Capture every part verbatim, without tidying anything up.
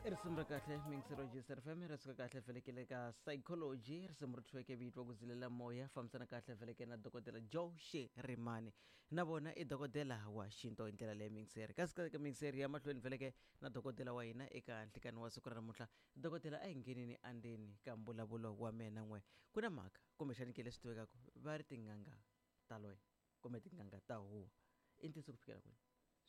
I risimu ra kahle mingisero G S R F M, ri suka kahle velekele ka Psychology, risimu ri thyiweke vito ku zilela moya. Fambisana kahle veleke na Dokodela Joe Shirimani, na vona i dokodela wa xinto hi ndlela leyi mingiseri. Kasi ka mingiseri ya mahlweni veleke na dokodela wa hina eka nhlikani wa siku ra namuntlha. Dokodela, a hi nghenini andzeni ka mbulavulo wa mina n'we. Ku na mhaka kumbexani ke leswi tivekaka va ri tin'anga ta loya kumbe tin'anga ta huwa, i ntiyiso ku fikela kwini?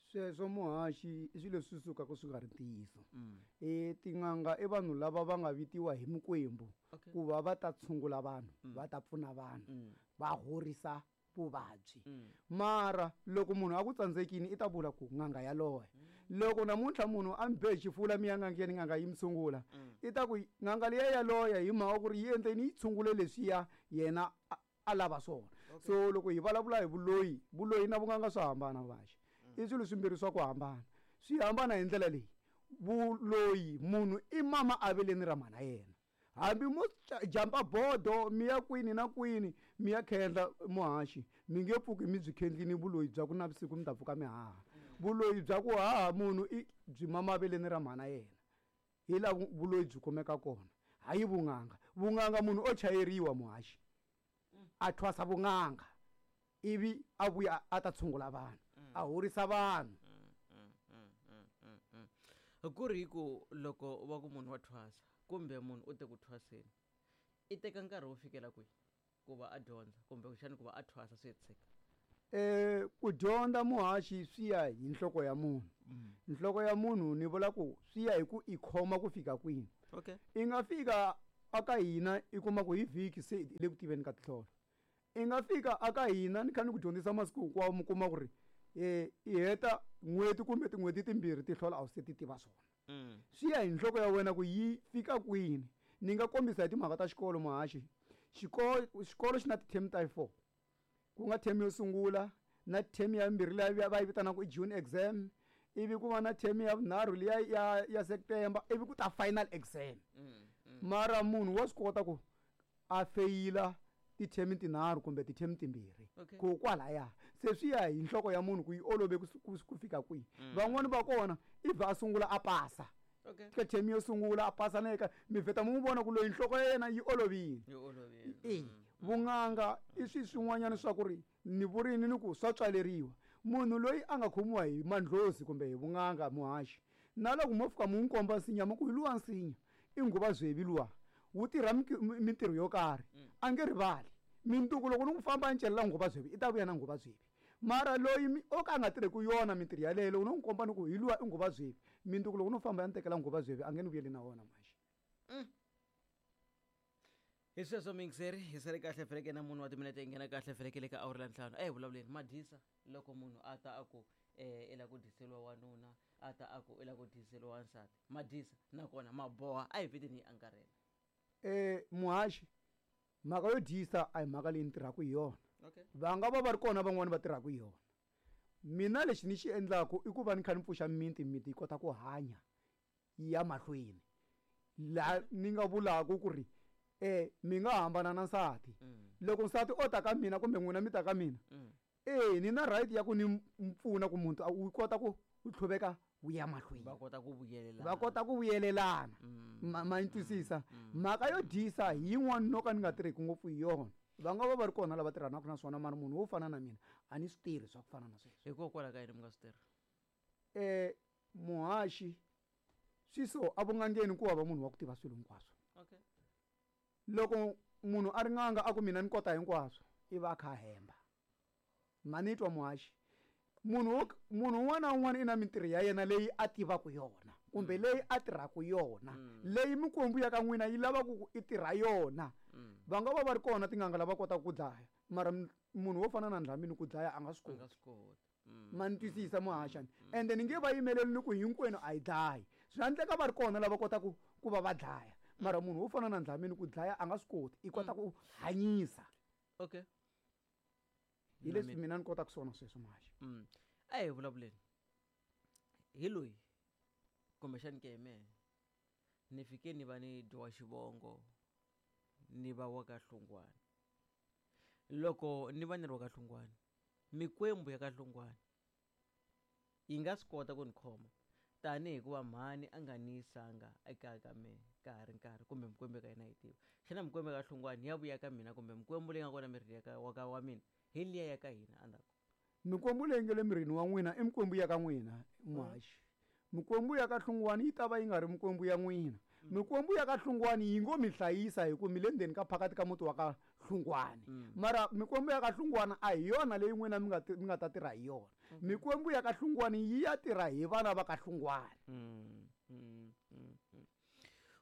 Sweswo muhaxi i swilo leswi sukaka swi nga ri ntiyiso. Mm. E tin'anga i vanhu lava va nga vitiwa hi mikwembu okay. ku va va ta tshungula vanhu, Mm. va ta pfuna vanhu, mm. va horisa vuvabyi. Mm. Mara loko munhu a ku tsandzekini, i ta vula ku n'anga yaloye. Loko namuntlha munhu a mi be hi xifula, mi ya n'angeni, n'anga yi mi tshungula, Mm. i ta ku n'anga liya yaloya hi mhaka ku ri yi endleni, yi tshungule leswiya yena a- a lava swona. Okay. So loko hi vulavula hi vuloyi, vuloyi na vun'anga swa hambana vaxi, i swilo swimbirhi swa ku hambana. Swi hambana hi ndlela leyi: vuloyi munhu i mama aveleni ra mhana yena, hambi mo ca- jampa bodo mi ya kwini na kwini mi ya khendla muhaxi, mi nge pfuki mi byi khendlini vuloyi bya ku navusiku mi ta pfuka mi haha. Vuloyi bya ku haha munhu i byi mama aveleni ra mhana yena, hi laha vu- vuloyi byi kumeka kona, hayi vun'anga. Vun'anga munhu o chayeriwa muhaxi, a thwasa vun'anga, ivi a vuya a ta tshungula vanhu, a horisa vanhu. Mm, mm, mm, mm, mm. ku ri hi ku loko va ku munhu wa thwasa kumbe munhu u te ku thwaseni, i teka nkarhi wo fikela kwihi ku va a dyondza kumbe kuxani ku va a thwasa swi hetiseka? Eh ku dyondza muhaxi swi ya hi nhloko ya munhu. Nhloko ya munhu ni vula ku swi ya hi ku i khoma ku fika kwini. Okay i nga fika aka hina, i kuma ku hi vhiki se i le ku tiveni ka tinhlolo. I nga fika aka hina ni kha ni ku dyondzisa masiku hinkwawo, mi kuma ku ri um i heta n'hweti kumbe tin'hweti timbirhi, tihlola a wu se ti tiva swona. mm. Swi ya hi nhloko ya wena ku yi fika kwini. Ni nga kombisa hi timhaka ta xikolo muhaxi. Xikolo xikolo xi na ti-term ta four, ku nga term yo sungula na term ya mbirhi liya va yi vitanaka i June exam, ivi ku va na term ya vunharhu liya ya ya September, ivi ku ta final exam. Mm. Mm. Mara munhu wa swi kota ku a feyila ti-term tinharhu kumbe ti-term timbirhi. Okay. Ku kwalaya se swi ya hi nhloko ya munhu ku yi olove ku ku ku fika kwihi. Mm. Van'wani va kona i vha a sungula a pasa okay ka term yo sungula, a pasa na eka mi vheta mi n'wi vona ku loyi nhloko ya yena yi olovile. Yi olovile. E Mm. vun'anga i swi swin'wanyana swa ku ri ni vurini ni ku swa tswaleriwa. Munhu loyi a nga khomiwa hi mandlhozi kumbe hi vun'anga muhaxi, na loko mo fika mu n'wi komba nsinya, mi ku hi luwa nsinya i nguva zwevi luwa wu tirha miki- mi- mintirho yo karhi, Mm. a nge rivali. Mintuku loko ni ku famba ni celela nguva zwevi, i ta vuya na nguva zwevi. Mara loyi mi- o ka a nga tirheku yona mintirho yaleyo, loko no n'wi komba ni ku hi luwa i nguva zwevi, mintuku loko no famba ya ni tekela nguva zwevi, a nge ni vuyeli na wona muhaxi. Hi sweswo mingiseri, hi sale kahle feleke na munhu wa timinete yi nghena kahle feleke le ka awuri la ntlhanu. A hi vulavuleni madyisa. Loko munhu a ta a ku um i lava ku dyiseliwa wanuna, a ta a ku i lava ku dyiseliwa wansati, madyisa nakona maboha, a hi viteni hi angarhela. Eh muhaxi, mhaka yo dyisa a hi mhaka leyi ni tirhaka hi yona. Okay va nga va va ri kona van'wani va tirhaka hi yona. Mina lexi ni xi endlaku i ku va ni kha ni pfuxa miti, miti yi kota ku hanya yi ya mahlweni. Laha ni nga vulaku ku ri eh mi nga hambana na nsati, mm. loko nsati o ta ka mina kumbe n'wina mi ta ka mina, Mm. e ni na right ya ku ni m- pfuna ku muntu a wu kota ku wu tlhuveka wu ya mahlweni. Va kota ku vuyelelana. Va kota ku vuyelelana. Mm. ma ma ni twisisa? Mm. Mhaka yo dyisa hi yin'wana no ka ni nga tirheki ngopfu hi yona. Va nga va va ri kona lava tirhanaka na swona, mara munhu wo fana na mina a ni swi tirhi swa ku fana na sweswo. Hikokwalaho ka yini mi nga swi tirhi? um muhaxi, swi so evun'angeni ku hava munhu wa ku tiva swilo hinkwaswo. Okay loko munhu a ri n'anga a ku mina ni kota hinkwaswo, i va a kha a hemba. Ma ni twa muhaxi? Munhu wo munhu un'wana na un'wana i na mintirho ya yena leyi a tivaka yona kumbe leyi a tirhaka yona, Mm. leyi mikwembu ya ka n'wina yi lavaka ku i tirha yona. Mm. Va nga va va ri kona tin'anga lava kotaka ku dlaya, mara m- munhu wo fana na Ndlamini ku dlaya a nga swi A nga koti. swi koti. Mm. Ma ni twisisa muhaxani? Ende ni nge va yimeleli ni ku hinkwenu a yi dlayi. Swi nga endleka va ri kona lava kotaka ku va va dlaya, mara munhu wo fana na Ndlamini ku dlaya a nga swi koti, i kota ku hanyisa. Okay hi leswi mina ni kotaka swona sweswo muhaxi. Mm. a hi vulavuleni hi loyi kumbexani ke mehe ni fike ni va ni dyiwa xivongo, ni va wa ka Hlungwani. Loko ni va ni ri wa ka Hlungwani, mikwembu ya ka Hlungwani yi nga swi kota ku ni khoma. Tanihi hikuva mhani a nga ni yisanga ekaya ka mehe ka ha ri nkarhi kumbe mikwembu ka hina yi tiva. Xana mikwembu ka Hlungwani ya vuya ka mina kumbe mikwembu leyi nga kona mirini ya ka wa ka wa mina hi liya ya ka hina endzhaku? Mikwembu leyi nga le mirini wa n'wina i mikwembu ya ka n'wina muhaxi. Mikwembu ya ka Hlungwani yi ta va yi nga ri mikwembu ya n'wina. Mikwembu ya ka Hlungwani yi ngo mi hlayisa hi ku mi le ndzeni ka phakati ka muti wa ka Hlungwani. Mara mikwembu ya ka Hlungwani a hi yona leyi n'wina mi nga mi nga ta tirha hi yona. Mikwembu ya ka Hlungwani yi ya tirha hi vana va ka Hlungwani. Mm, mm, mm, mm.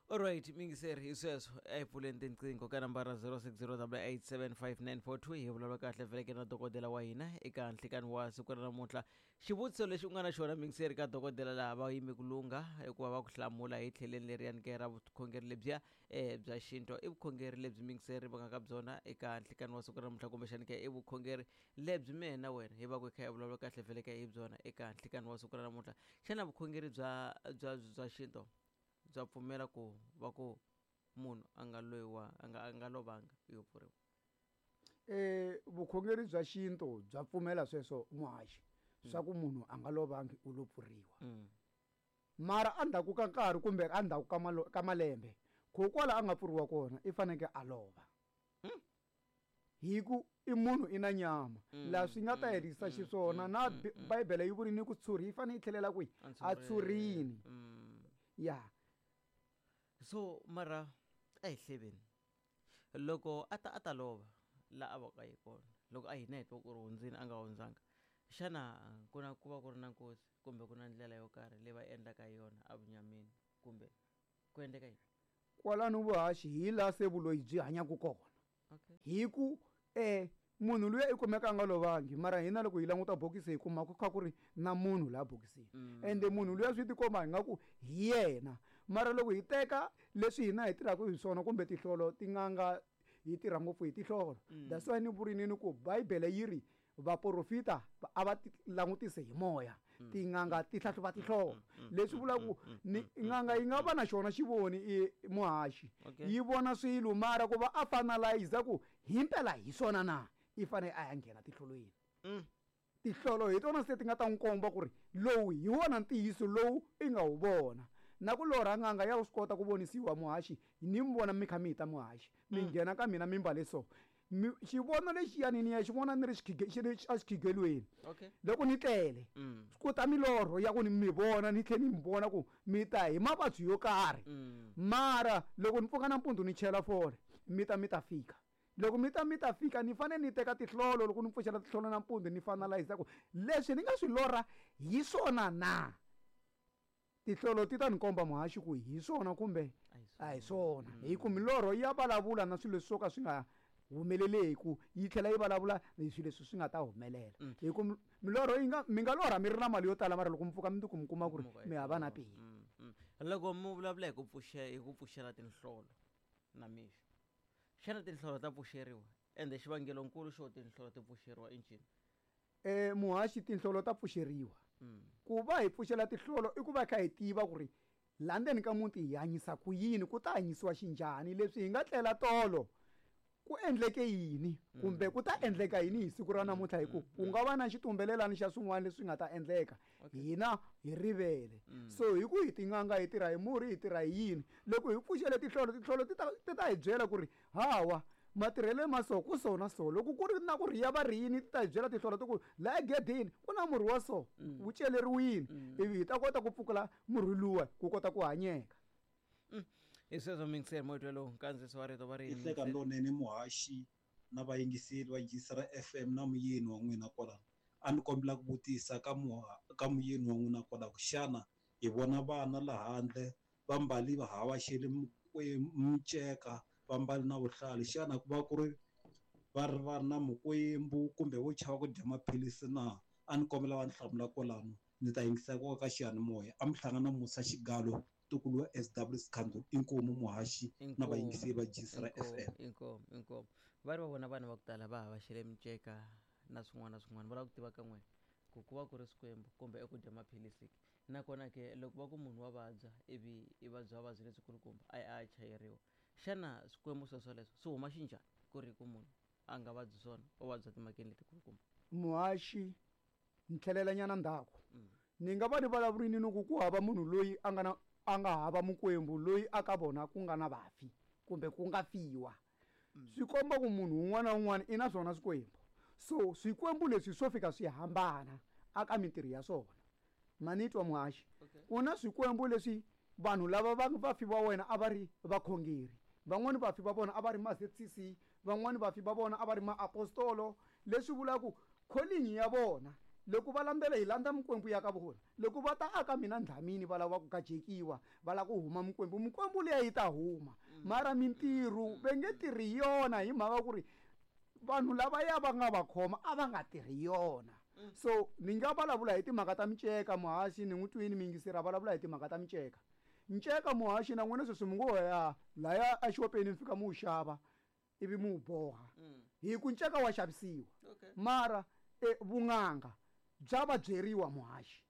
Alright, mingiseri hi sweswo a hi pfuleni tinqingho ka nambara zero six zero double eight seven five nine four two hi vulavula kahle veleke na dokodela wa hina eka nhlikani wa siku ra namuntlha. Xivutiso lexi u nga na xona mingiseri ka dokodela laha va yime ku lungha hikuva va ku hlamula hi tlheleni leriyani ke ra vukhongeri lebyiya um bya xinto. I vukhongeri lebyi mingiseri va nga ka byona eka nhlikani wa siku ra namuntlha, kumbexani ke i vukhongeri lebyi mehe na wena hi va ku hi kha hi vulavula kahle veleke hi byona eka nhlikani wa siku ra namuntlha. Xana vukhongeri bya bya bya xinto bya pfumela ku va ku munhu a nga loyiwa a nga a nga lovanga yo pfuriwa? Eh vukhongeri bya xinto bya pfumela sweswo muhaxi, swa ku munhu a nga lovangi u lo pfuriwa. Mara endzhaku ka nkarhi kumbe endzhaku ka malo ka malembe kokwala a nga pfuriwa kona i fanekele a lova. Hi ku i munhu i na nyama laha swi nga ta herisa xiswona na Bibele yi vurini ku tshuri yi fanele yi tlhelela kwihi? A tshurini. Ya. So mara a hi hleveni loko a ta a ta lova la a va ka yi kona loko a hina hi twa ku ri hundzini a nga hundzanga, xana ku na ku va ku ri na nkosi kumbe ku na ndlela yo karhi leyi va endlaka hi yona evunyameni kumbe ku endleka yini? Kwalano vuhaxi hi laha se vuloyi byi hanyaka kona. Okay. Hi ku eh munhu luya i kumeka a nga lovangi, mara hina loko hi languta bokisi hi kuma ku kha ku ri na munhu laha bokisini. Ende munhu luya swi tikomba ingaku hi yena. Mara loko hi teka leswi hina hi tirhaka hi swona kumbe tihlolo tin'anga hi tirha ngopfu hi tihlolo. That's why ni vurini ni ku Bibele yi ri vaprofita a va langutise hi moya, tin'anga ti hlahluva tihlolo. Leswi vulaka ku ni n'anga yi nga va na xona xivoni i muhaxi, yi vona swilo mara ku va a finalize ku himpela hi swona na i fanele a ya nghena tihlolweni. Tihlolo hi tona se ti nga ta n'wi komba ku ri lowu hi wona ntiyiso lowu i nga wu vona. Na ku lorha n'anga ya swi kota ku vonisiwa muhaxi, ni mi vona mi kha mi ta muhaxi, mi nghena ka mina mi mbale so. Xivono lexiyani ni ya xi vona ni ri xi ri exikhigelweni. Okay. Loko ni tlele, ku ta milorho ya ku ni mi vona ni tlhela ni mi vona ku mi ta hi mavabyi yo karhi. Mara loko ni pfuka nampundzu ni chela fole, mi ta mi ta fika. Loko mi ta mi ta fika ni fanele ni teka tihlolo, loko ni pfuxela tihlolo nampundzu ni finalize ku leswi ni nga swi lorha hi swona na. Tihlolo ti ta ni komba muhaxi ku hi swona kumbe a hi swona. Hi ku milorho ya vulavula na swilo leswi swo ka swi nga humeleleku, yi tlhela yi vulavula hi swilo leswi swi nga ta humelela. Hi ku milorho yi nga mi nga lorha mi ri na mali yo tala, mara loko mi pfuka mundzuku mi kuma ku ri mi hava na peni. Loko mi vulavula hi ku pfuxe hi ku pfuxela tinhlolo na mixo, xana tinhlolo ta pfuxeriwa? Ende xivangelonkulu xo tinhlolo ti pfuxeriwa i ncini? Eh muhaxi, tinhlolo ta pfuxeriwa. Ku va hi pfuxela tinhlolo i ku va kha hi tiva ku ri laha ndzeni ka muti hi hanyisa ku yini, ku ta hanyisiwa xinjhani, leswi hi nga tlela tolo ku endleke yini kumbe ku ta endleka yini hi siku ra namuntlha, hi ku ku nga va na xitumbelelani xa swin'wana leswi nga ta endleka hina hi rivele. So hi ku hi tin'anga hi tirha hi murhi, hi tirha hi yini, loko hi pfuxele tinhlolo, tinhlolo ti ta ti ta hi byela ku ri hawa matirhelo ma so ku so na so. Loko ku ri na ku rhiya va rhiyini, ti ta hi byela tinhlolo ti ku laha egedeni ku na murhi wa so wu celeriwile, ivi hi ta kota ku pfukula murhi luwa ku kota ku hanyeka. Hi sweswo mingiseri moya lowu nkandziyiso wa rito va ri i hleka lonene muhaxi na vayingiseri va Jisara F M na muyeni wa n'wina kwalano. A ni kombela ku vutisa ka ka muyeni wa n'wina kwalaho, xana hi vona vana laha handle va mbali va havaxele miceka, va mbali na vuhlalu, xana ku va ku ri va ri va ri na mikwembu kumbe vo chava ku dya maphilisi na? A ni kombela va ni hlamula kwalano, ni ta yingisa ku ka xiyanimoya. A mi hlangana Musa Xigalo, ntukulu wa S W Sikhandu, inkomu muhaxi na vayingiseri va Jisara F M. Inkomu, inkomu. Va ri va vona vana va ku tala va havaxele miceka na swin'wana na swin'wana, va lava ku tiva ka n'wina ku ku va ku ri swikwembu kumbe i ku dya maphilisi ke. Nakona ke loko va ku munhu wa vabya ivi i vabya vuvabyi lebyikulukumba a ya a ya chayeriwa, xana swikwembu sweswoleswo swi huma xinjhani ku ri ku munhu a nga vabyi swona, u vabya timhakeni letikulukumba? Muhaxi, ni tlhelelanyana ndzhaku. Ni nga va ni vulavurini ni ku ku hava munhu loyi a nga na a nga hava mukwembu loyi a ka vona ku nga na vafi kumbe ku nga fiwa. Swi komba ku munhu un'wana na un'wana i na swona swikwembu. So swikwembu leswi swo fika swi hambana aka mintirho ya swona. Manitwa muhaxi. Okay. Ku na swikwembu leswi vanhu lava va vafi va wena a va ri vakhongeri. Van'wani vafi va vona a va ri ma Z C C, van'wani vafi va vona a va ri maapostolo, leswi vulaka ku calling ya vona loko va landzela hi landza mikwembu ya ka vona. Loko va ta aka mina Dlamini va lava ku gajekiwa, va lava ku huma mikwembu, mikwembu liya yi ta huma. Mara mintirho va nge tirhi yona hi mhaka ku ri vanhu lavaya va nga va khoma a va nga tirhi yona. So ni nga vulavula hi timhaka ta miceka muhaxi, ni n'wi twini miyingiseri a vulavula hi timhaka ta miceka. Nceka muhaxi na n'wina sweswi mi ngo ya laya exopeni mi fika mi wu xava ivi mi wu boha. Hi ku nceka wa xavisiwa. Okay. Mara e vun'anga bya va byeriwa muhaxi.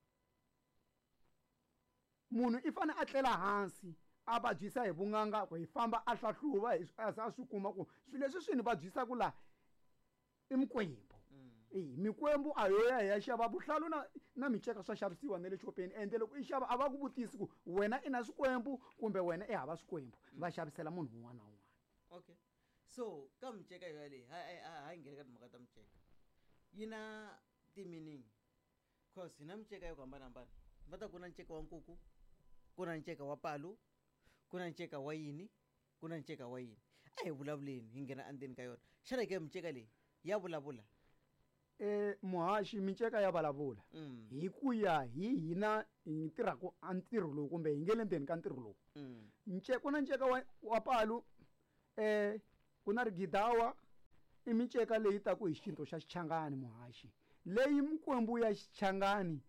Munhu i fane a tlela hansi a vabyisa hi vun'anga ku hi famba a hlahluva hi a za a swi kuma ku swilo leswi swi ni vabyisaka laha i mikwembu. E mikwembu a yo ya hi ya xava vuhlalu na, na miceka swa xavisiwa na le xopeni, ende loko i xava a va ku vutisi ku wena i na swikwembu kumbe wena i hava swikwembu, va xavisela munhu un'wana na un'wana. Okay. So ka miceka yo yaleyo, ha, ha, ha nghena ka timhaka ta miceka yi na ti-meaning, cause hi na miceka yo hambanahambana. Va ta ku na nceka wa nkuku, ku na nceka wa palu, ku na nceka wa yini, ku na nceka wa yini. A hi vulavuleni hi nghena endzeni ka yona. Xana ke miceka leyi ya vulavula? E muhaxi, miceka ya vulavula. Mm. Hi ku ya hi hina hi tirhaka a ntirho lowu kumbe hi nge le ndzeni ka ntirho lowu. Mm. Nce-, ku na nceka wa, wa palu, eh, ku na rigidawa, i miceka leyi taku hi xintu xa Xichangani muhaxi. Leyi mikwembu ya Xichangani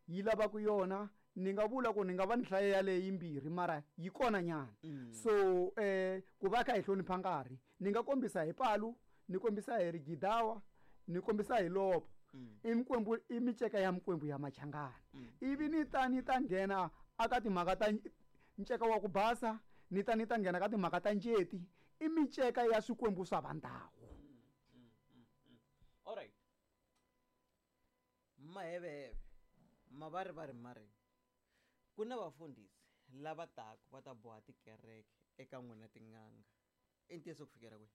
yi lavaka yona, ni nga vula ku ni nga va ni hlaya yaleyo yimbirhi mara yi kona nyana. Mm. So, eh, ku va kha hi hlonipha nkarhi, ni nga kombisa hi palu, ni kombisa hi rigidawa, ni kombisa hi lopo. Mm. I mikwembu, i miceka ya mikwembu ya Machangani. Mm. Ivi ni ta ni ta nghena aka timhaka ta nceka wa ku basa, ni ta ni ta nghena ka timhaka ta njeti, i miceka ya swikwembu swa vandawu. Mm, mm, mm, mm. All right. Maheveheve, mavarivari mari. Ku na vafundhisi lava taka va ta boha tikereke eka n'wina tin'anga. I ntiyiso ku fikela kwihi?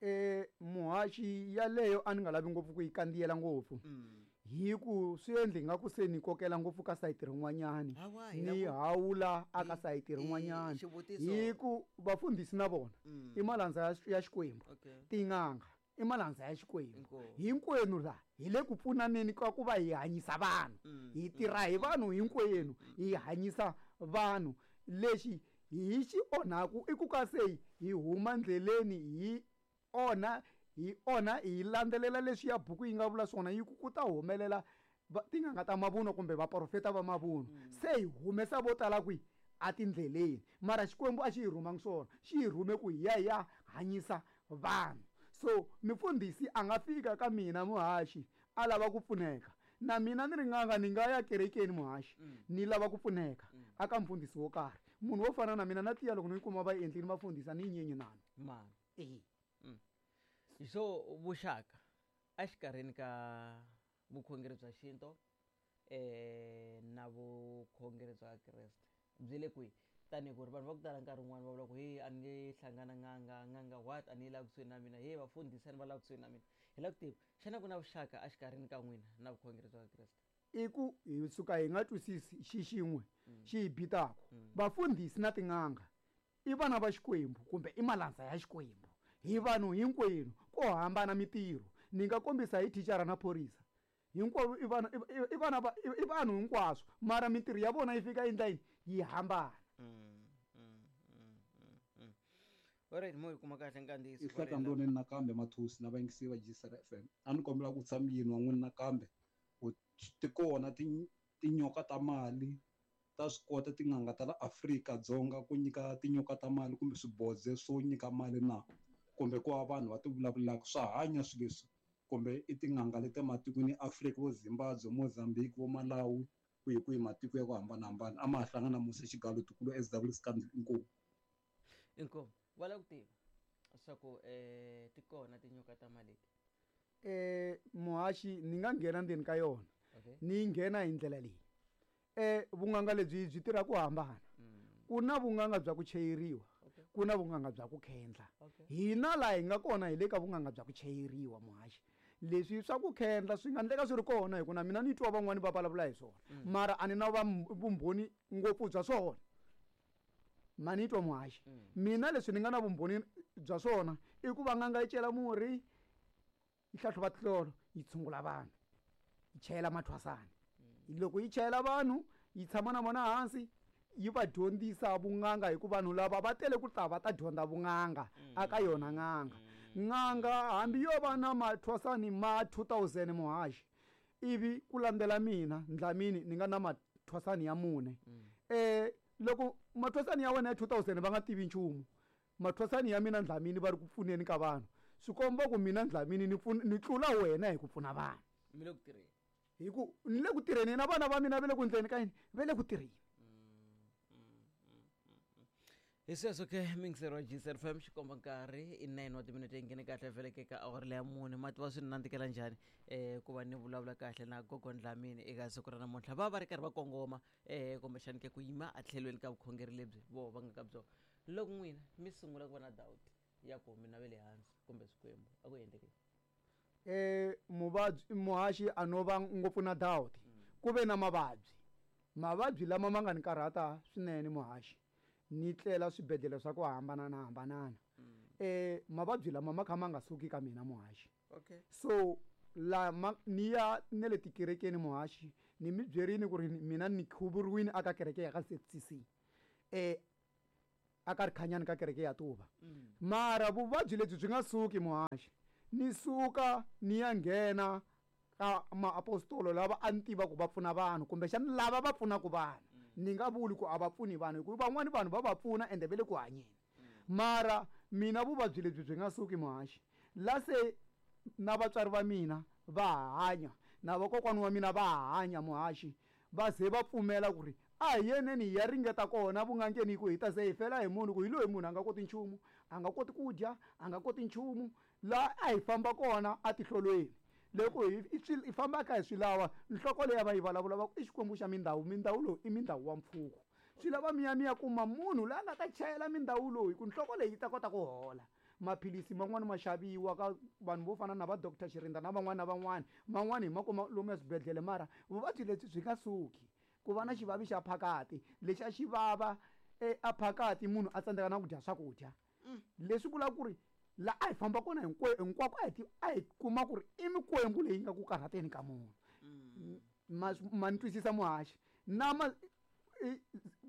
E muhaxi yaleyo a ni nga lavi ngopfu ku yi kandziyela ngopfu. Mm. Hi ku swi endli nga ku se ni kokela ngopfu ka sayiti rin'wanyani. Hawa, hi Ni la ku hawula aka Hi- sayiti hi rin'wanyani. xivutiso. Hi ku vafundhisi na vona Mm. i malandza ya Xi-, ya Xikwembu. Okay. Tin'anga i malandza ya Xikwembu. Inkomu. Hinkwenu laha hi le ku pfunaneni ka ku va hi hanyisa vanhu. Mm, Hi mm, tirha hi mm, vanhu hinkwenu, mm. hi hanyisa vanhu. Lexi hi xi onhaku i ku ka se hi huma ndleleni hi onha, hi onha hi landzelela leswi ya buku yi nga vula swona, yi ku ku ta humelela va-, tin'anga ta mavunwa kumbe vaprofeta va mavunwa. Mm. Se hi humesa vo tala kwihi? Atindleleni. Mara Xikwembu a xi hi rhumangi swona, xi hi rhume ku hi ya hi ya hanyisa vanhu. So mufundhisi a nga fika ka mina muhaxi a lava ku pfuneka, na mina ni ri n'anga ni nga ya kerekeni muhaxi Mm. ni lava ku pfuneka Mm. aka mufundhisi wo karhi. Munhu wo fana na mina na tiya loko ni kuma va endlini vafundhisi a ni nyenyi nano. Mani. E. Mm. So vuxaka exikarhini ka vukhongeri bya xintu, eh, na vukhongeri bya Kreste byi le kwihi? Tanihi ku ri vanhu va ku tala nkarhi wun'wani va vula ku hey, a ni nge hlangana n'anga, n'anga what, a ni yi lavi kusuhi na mina, hey, vafundhisi a ni va lavi kusuhi na mina. Hi lava ku tiva, xana ku na vuxaka exikarhini ka n'wina na vukhongeri bya Kreste? I ku hi suka hi nga twisisi xi xin'we Mm. xi hi bitaka. Mm. Vafundhisi na tin'anga i vana va Xikwembu kumbe i malandza ya Xikwembu. Hi vanhu hinkwenu, ko hambana mintirho. Ni nga kombisa hi thicara na phorisa. Hinkwavo i vana, i, i, i vana va, i, i vanhu hinkwaswo, mara mintirho ya vona yi fika endla yini? Yi hambana. Mm, mm, mm, mm, mm. Alright, mo yi kuma kahle nkandziyiso I wa hleka rena. ndoneni nakambe Mathosi na vayingisi va G C R F M. A ni kombela ku tshama yini wa n'wina nakambe ku ti kona ti-, tinyoka ta mali, ta swi kota tin'anga ta la Afrika-Dzonga ku nyika tinyoka ta mali kumbe swibodze swo nyika mali na, kumbe ku va vanhu va ti vulavulaka swa hanya swilo leswi, kumbe i tin'anga leti ematikweni ya Afrika, vo Zimbabwe, Mozambique, vo Malawi, kwihi kwihi matiko ya ku hambanahambana. A ma ha hlangana Musa Xigalo Tukulu S W Scandal. Inkomu. Inkomu. Va lava ku tiva swa ku, eh, ti kona tinyoka ta mali leti? Eh, muhaxi ni nga nghena ndzeni ka yona. Okay. Ni nghena hi ndlela leyi. Eh vun'anga lebyi byi tirha ku hambana. Mm. Ku na vun'anga bya ku chayeriwa. Okay. Ku na vun'anga bya ku khendla. Okay. Hina laha hi nga kona hi le ka vun'anga bya ku chayeriwa muhaxi. Leswi swa ku khendla swi nga endleka swi ri kona hi ku na mina ni twa van'wani va vulavula hi swona. Mm. Mara a ni na vumbhoni ngopfu bya swona. Ma ni twa muhaxi. Mm. Mina leswi ni nga na vumbhoni bya swona i ku va n'anga yi cela murhi, yi hlahluva tinhlolo, yi tshungula vanhu, yi chayela mathwasana. Mm. Loko yi chayela vanhu, yi tshama na vona hansi, yi va dyondzisa vun'anga hi ku vanhu lava va tele ku ta va ta dyondza vun'anga Mm. aka yona n'anga. Mm. N'anga hambi yo va na mathwasani ma two thousand muhaxi, ivi ku landzela mina Dlamini ni nga na mathwasani ya mune. Mm. Eh loko mathwasani ya wena ya two thousand va nga tivi nchumu, mathwasani ya mina Dlamini va ri ku pfuneni ka vanhu, swi komba ku mina Dlamini ni pfuna, ni tlula wena hi ku pfuna vanhu. Mi le ku tirheni. Hi ku ni le ku tirheni na vana va mina va le ku endleni ka yini, va le ku tirheni. Hi sweswo ke mixer wa G C F M xikomba nkarhi i nine wa timinete yi nghene kahle vheleke ka awara leya mune. Ma tiva swi ni nandzikela njhani eh ku va ni vulavula kahle na Gogo Dlamini eka siku ra namuntlha. Va va ri karhi va kongoma eh kumbexani ke ku yima etlhelweni ka vukhongeri lebyi voho va nga ka byona. Loko n'wina mi sungula ku va na doubt ya ku mina ve le hansi kumbe swikwembu a ku endlekeni? Eh muvabyi muhaxi a no va ngopfu na doubt. Ku ve na mavabyi. Mavabyi lama ma nga ni karhata swinene muhaxi. Ni tlela swibedhlele swa ku hambanana hambanana. Eh mavabyi lama ma kha ma nga suki ka mina muhaxi. Okay. So la ma ni ya ne le tikerekeni muhaxi, ni mi byerini ku ri mina ni khuvuriwile aka kereke ya ka Z C C. Eh aka rikhanyani ka kereke ya Tuva. Mm. Mara vuvabyi lebyi byi nga suki muhaxi. Ni suka ni ya nghena ka maapostolo lava a ni tiva ku va pfuna vanhu kumbexana lava va pfunaka vanhu. Ni nga vuli ku a va pfuni vanhu hikuva van'wani vanhu va va pfuna ende va le ku hanyeni. Mara mina vuvabyi lebyi byi nga suki muhaxi. La se na vatswari va mina va hanya, na vakokwana wa mina va hanya muhaxi, va ze va pfumela ku ri a hi yeneni hi ya ringeta kona vun'angeni hi ku hi ta ze hi fela hi munhu, ku hi loyi munhu a nga koti nchumu, a nga koti ku dya, a nga koti nchumu. La a hi famba kona atihlolweni. Loko hi, hi swi, hi famba kha hi swi lava, nhloko leyi va yi vulavula va ku i Xikwembu xa mindhawu, mindhawu lowu i mindhawu wa mpfhuka. Swi lava mi ya mi ya kuma munhu loyi a nga ta chayela mindhawu lowu hi ku nhloko leyi yi ta kota ku hola. Maphilisi man'wani ma xaviwa ka vanhu vo fana na va Doctor Shirinda na van'wani na van'wani, man'wani hi ma kuma lomu eswibedhlele, mara vuvabyi lebyi byi nga suki. Ku va na xivavi xa phakati lexi a xi vava e, a phakati munhu a tsandzeka na ku dya swakudya. Leswi vulaka ku ri la a hi famba kona hinkwe-, hinkwako a hi ti-, a hi kuma ku ri i mikwembu leyi nga ku karhateni ka munhu. Mm. Ma, ma ni twisisa muhaxi. Na ma, i,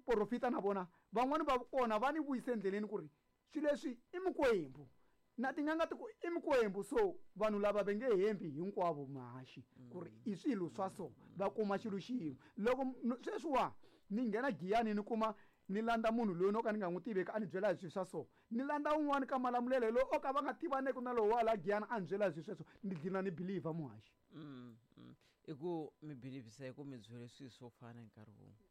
porofita na vona van'wani va kona va ni vuyise endleleni ku ri swilo leswi i mikwembu, na tin'anga ti ku i mikwembu. So vanhu lava va nge hembi hinkwavo muhaxi ku ri i swilo swa so, va kuma xilo xin'we. Loko m-, sweswiwa ni nghena Giyani ni kuma ni landza munhu loyi no ka ni nga n'wi tiveki a ni byela hi swilo swa so, ni landza un'wana ka Malamulele loyi o ka va nga tivaneki na lowu wa la Giyani a ni byela hi swilo sweswo, ni dlina ni believer muhaxi. Mm, mm. I ku mi believisa hi ku mi byele swilo swo fana hi nkarhi wun'we.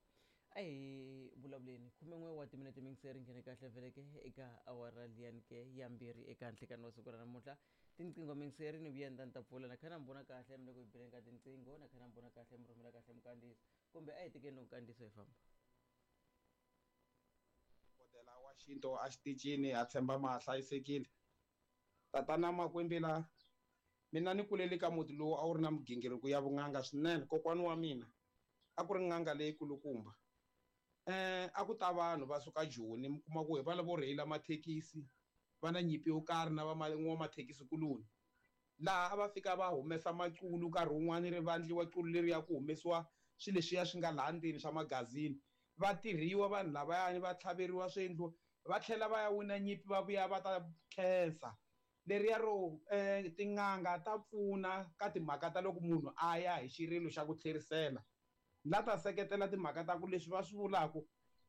A hi vulavuleni khumen'we wa timinete mingiseri nghene kahle vheleke eka awara liyani ke ya mbirhi eka nhlekani wa siku ra namuntlha. Tinqingho mingiseri ni vuya ni ta ni ta pfula, na kha na mi vona kahle mi le ku hi beleni ka tinqingho, na kha na mi vona kahle mi rhumela kahle minkandziyiso, kumbe a hi tekeni loko nkandziyiso hi famba. Dokodela wa xintu a xitichini a tshemba ma hlayisekile. Tatana Makwembela, mina ni kulele ka muti lowu a wu ri na migingiriko ya vun'anga swinene. Kokwana wa mina a ku ri n'anga leyikulukumba. Eh, a ku ta vanhu va suka Joni, mi kuma ku hi va lavo rheyila mathekisi, va na nyimpi yo karhi na va n'wamathekisi kuloni. Laha a va fika va humesa maculu nkarhi wun'wani ri vandliwa qulu leriya ku humesiwa swilo leswiya swi nga laha ndzeni swa magazini. Va tirhiwa vanhu lavayani, va tlhaveriwa swiendlo, va tlhela va ya wina nyimpi va vuya va ta khensa. Leriya ro, eh, tin'anga ta pfuna ka timhaka ta loko munhu a ya hi xirilo xa ku tlherisela. La ta seketela timhaka ta ku leswi va swi vulaka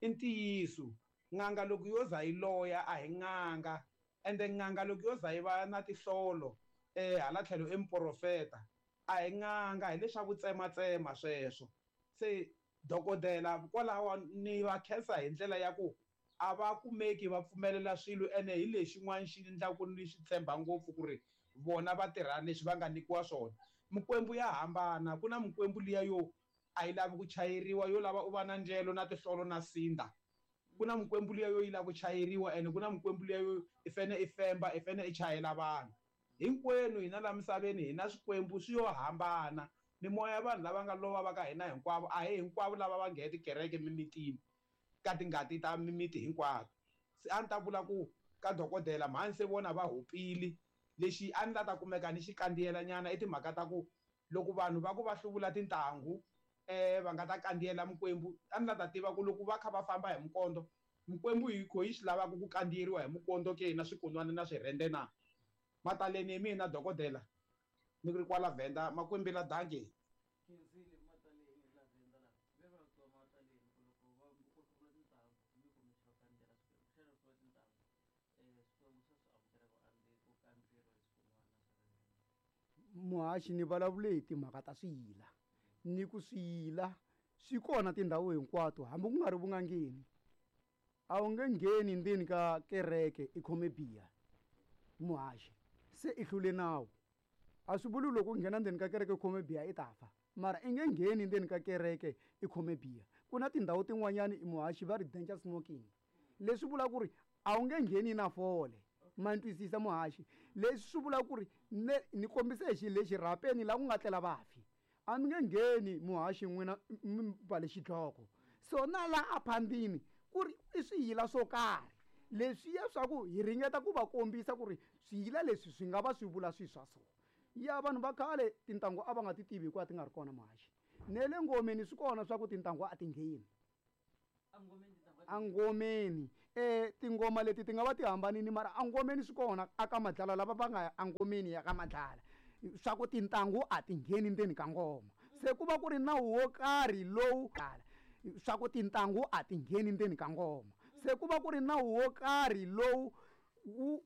i ntiyiso. N'anga loko yo za yi loya a hi n'anga, ende n'anga loko yo za yi va na tinhlolo, eh, hala tlhelo i muprofeta, a hi n'anga, hi leswaku tsematsema sweswo. Se dokodela kwalaho ni va khensa hi ndlela ya ku a va kumeki va pfumelela swilo, ene hi lexin'wana xi endlaka ni swi tshemba ngopfu ku ri vona va tirha leswi va nga nyikiwa swona. Mikwembu ya hambana, ku na mikwembu liya yo a yi lavi ku chayeriwa, yo lava u va na ndyelo na tihlolo na sinda. Ku na mikwembu liya yo yi lava ku chayeriwa, ene ku na mikwembu liya yo i fane i femba, i fane i chayela vanhu. Hinkwenu hina laha misaveni hi na swikwembu swi yo hambana. Mimoya ya vanhu lava nga lova va ka hina hinkwavo, a hi hinkwavo lava va nghena tikereke mimitini ka tingati ta mimiti hinkwato. Se a ni ta vula ku ka dokodela mhani se vona va hupile, lexi a ni la ta kumeka ni xi kandziyela nyana i timhaka ta ku loko vanhu va ku va hluvula tintangu eh va nga ta kandziyela mikwembu, a ni la ta tiva ku loko va kha va famba hi mikondzo, mikwembu yi kho yi swi lavaka ku kandziyeriwa hi mikondzo ke na swikunwana na swirhende na. Mataleni hi mina dokodela ni ri kwala Venda, makwembela danke. Khensile Mataleni la Venda la. Ve va twa Mataleni ku loko va ku hluvula tintangu mi ku mi xi va kandziyela swikwembu. Xana ku hluvula tintangu eh swikwembu swa swi amukela ku andzi ku kandziyeriwa hi swikunwana na swirhende? Muhaxi ni vulavule hi timhaka ta swiyila, ni ku swiyila swi kona tindhawu hinkwato hambi ku nga ri vun'angeni. A wu nge ngheni ndzeni ka kereke i khome biya muhaxi, se i hlule nawu. A swi vuli loko u nghena ndzeni ka kereke i khome biya i ta fa, mara i nge ngheni ndzeni ka kereke i khome biya. Ku na tindhawu tin'wanyani i muhaxi va ri danger smoking, leswi vulaka ku ri a wu nge ngheni na fole. Ma ni twisisa muhaxi? Leswi swi vulaka ku ri ne ni kombise hi xilo lexi rhapeni laha ku nga tlela vafi, a mi nge ngheni muhaxi n'wina mi mbale xidloko. So na laha aphandini ku ri i swiyila swo karhi leswiya swa ku hi ringeta ku va kombisa ku ri swiyila leswi swi nga va swi vula swilo swa so. Ya vanhu va khale tintangu a va nga ti tivi hikuva ti nga ri kona muhaxi. Ne le ngomeni swi kona swa ku tintangu a ti ngheni. Angomeni eh tingoma leti ti nga va ti hambanini, mara angomeni swi kona aka madlala lava va nga ya angomeni ya ka madlala swa ku tintangu a ti ngheni ndzeni ka ngoma. Se ku va ku ri nawu wo karhi lowu swa ku tintangu a ti ngheni ndzeni ka ngoma. Se ku va ku ri nawu wo karhi lowu wu